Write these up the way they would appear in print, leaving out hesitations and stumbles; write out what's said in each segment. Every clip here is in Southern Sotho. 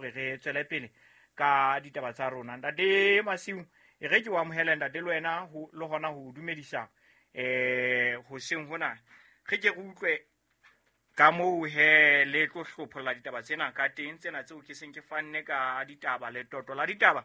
hore re tswele pele ka ditaba tsa rona. Ntate Masiu, e re ke o amohele ntate le wena le hona ho dumedisa hoseng hona. Re ke re utlwe ka moo he le tlo hlopholla ditaba tsena ka teng, tsena tseo ke seng ke fanne ka ditaba, letoto la ditaba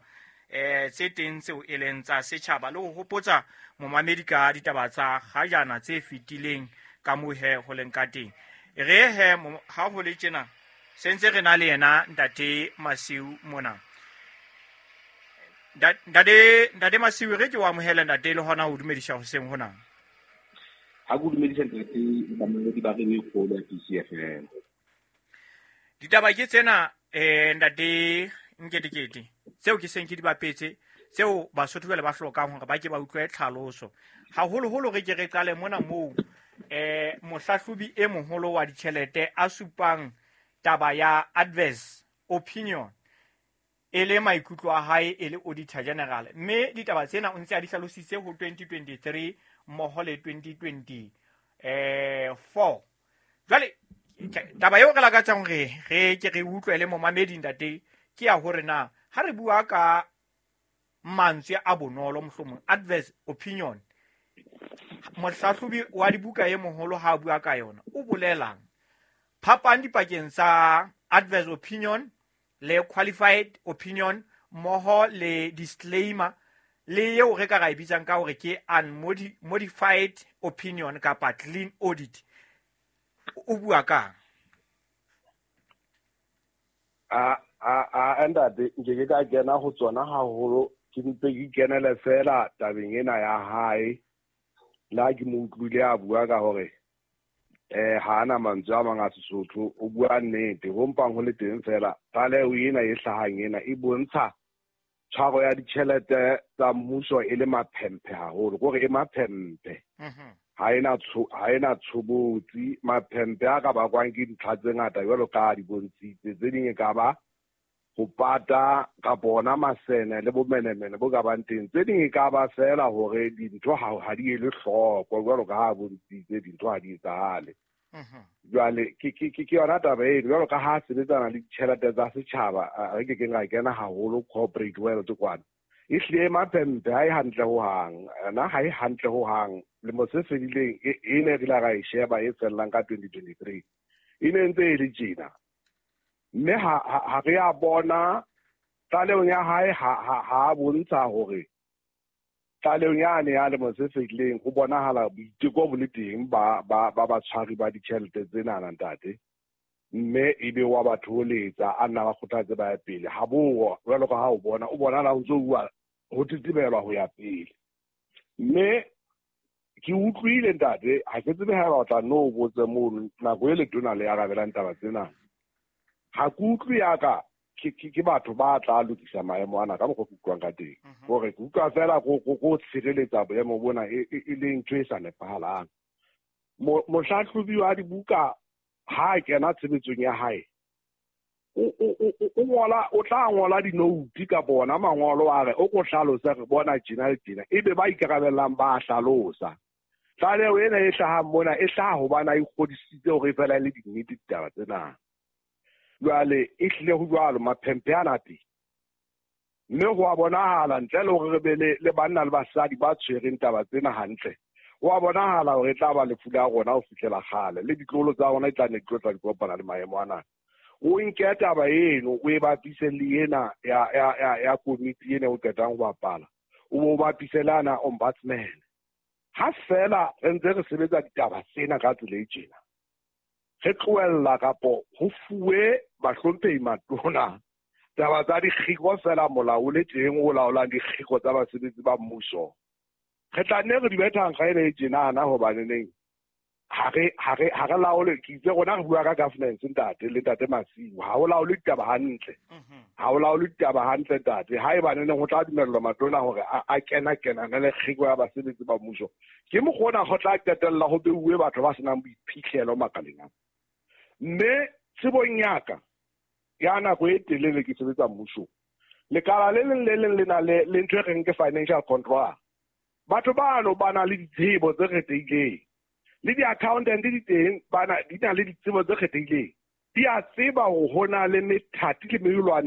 tse teng tseo e leng tsa setjhaba, le ho hopotsa momamedi ka ditaba tsa kgajana tse fetileng ka moo he ho leng ka teng. Re he ha ho le tjena se ntse re na le yena ntate Masiu mona. Ntate Masiu, re ke o amohele ntate le hona ho dumedisa hoseng hona. Ha ke dumedisa ntate le bamamedi ba radio e kgolo ya PCFM. Ditaba ke tsena ntate Nketekete tseo ke seng ke di bapetse, tseo Basotho jwale ba hlokang hore ba ke ba utlwe tlhaloso. Haholoholo re ke re qale mona moo mohlahlobi e moholo wa ditjhelete a supang taba ya adverse opinion e le maikutlo a hae e le Auditor General, mme ditaba tsena o ntse a di hlalositse ho 2023 mmoho le 2024. Jwale taba eo re lakatsang hore re ke re utlwe le momamedi ntate ke ya hore na ha re bua ka mantswe a bonolo, mohlomong adverse opinion, mohlahlobi wa dibuka e moholo ha a bua ka yona o bolelang? Phapang dipakeng tsa adverse opinion le qualified opinion mmoho le disclaimer le eo re ka ra e bitsang ka hore ke unmodified opinion kapa clean audit, o bua kang? A ntate, nke ke ka kena ho tsona haholo, ke mpe ke kenele fela tabeng ena ya hae. Le ha ke mo utlwile a bua ka hore ha ana mantswe a mang a Sesotho, o bua nnete. Ho mpang ho le teng fela, tlaleho ena e hlahang ena e bontsha tshwaro ya ditjhelete tsa mmuso e le maphemphe haholo, kore e maphemphe. Ha ena tshobotsi. Maphemphe a ka bakwang ke dintlha tse ngata jwalo ka di bontshitse, tse ding e ka ba ho pata kapa ona masene le bomenemene bo ka bang teng, tse ding e ka ba fela hore dintho ha di ele hloko jwalo ka ha bontshitse dintho ha di etsahale. Jwale ke yona taba eno, jwalo ka ha sebetsana le ditjhelete tsa setjhaba, re ke keng ra kena haholo corporate world kwana. E hlile maphemphe ha e hantle hohang, na ha e hantle hohang. Lemo se fedileng e ne re ile ra e sheba e fellang ka 2023, e ne ntse e le tjena. Mme ha re a bona tlalehong ya hae, ha bontsha hore tlalehong yane ya lemo se fetileng ho bonahala boiteko bo le teng ba batshwari ba ditjhelete tsenana ntate, mme ebe wa ba thoholetsa, a nna ba kgothatse ba ya pele. Ha bo jwalo ka ha o bona, o bonahala ho ntso bua ho tetebelwa ho ya pele. Mme ke utlwile ntate, ha ke tsebe haeba o tla nno o botse mono nako e letona le arabelang taba tsena. Ha ke utlwe yaka ke batho ba tla lokisa maemo ana ka mokgwa ke utlwang ka teng. Hore ke utlwa fela go tshireletsa boemo bona e le ntho e sa nepahalang. Mohlahlobi wa dibuka ha a kena tshebetsong ya hae, o tla ngola dinouti kapa ona mangolo a re o ko hlalose re bona tjena le tjena, ebe ba ikarabellang ba hlalosa. Tlaleho ena e hlahang mona e hlaha hobane a ikgodisitse hore e fela e le dinnete ditaba tsena. Jwale e hlile ho jwalo, maphemphe ana teng. Mme ho a bonahala ntle le hore re be le banna le basadi ba tshwereng taba tsena hantle, ho a bonahala hore e tla ba lefu la rona ho fihlela kgale, le ditloholo tsa rona e tla nne di tlo tla di kopana le maemo ana. O nke taba eno o e bapise le ena ya komiti ena o qetang ho bapala, o bo bapise le ana ombudsman. Ha fela re ntse re sebetsa ditaba tsena ka tsela e tjena, re tlohella kapo ho fuwe bahlomphehi matona taba tsa dikgiko fela, molao o le teng o laolang dikgiko tsa basebetsi ba mmuso, re tla nne re di bethang ga ene e tjenana, hobaneneng ha re laole. Ke itse rona re bua ka governance ntate le ntate Masiu, ha o laole ditaba hantle, ha o laole ditaba hantle ntate. Ha e baneneng ho tla dumellwa matona hore a kena kenana le kgiko ya basebetsi ba mmuso, ke mokgona ho tla qetella ho beuwe batho ba senang boiphihlelo makaleng ana. Mme tsebong ya ka ya nako e telele ke sebetsa mmusong, lekala le leng le leng le na le ntho e reng ke financial control. Batho bano ba na le ditsebo tse kgethehileng, le di-accountant di teng, di na le ditsebo tse kgethehileng, di a tseba hore ho na le methati le melelwane.